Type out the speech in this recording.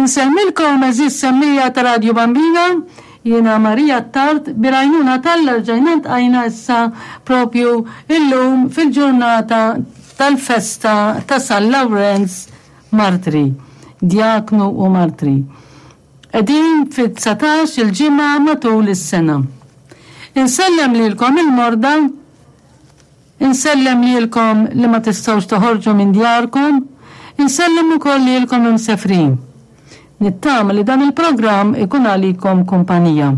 Insellmilkom għeżież semmiegħa ta' Radju Bambina, jiena Maria Attard, bil-għajnuna t'Alla rġajna ltqajna issa propju illum fil-ġurnata tal-festa ta' San Lawrenz Martri, Djaknu u Martri. Qegħdin fid-dsatax il-ġimgħa matul is-sena. Insellem lilkom il-morda, Insellem lilkom li ma tistgħux toħorġu minn djarkom, insellem ukoll lilkom imsefrin. Nittama li dan il-programm ikun għalikom kumpanija.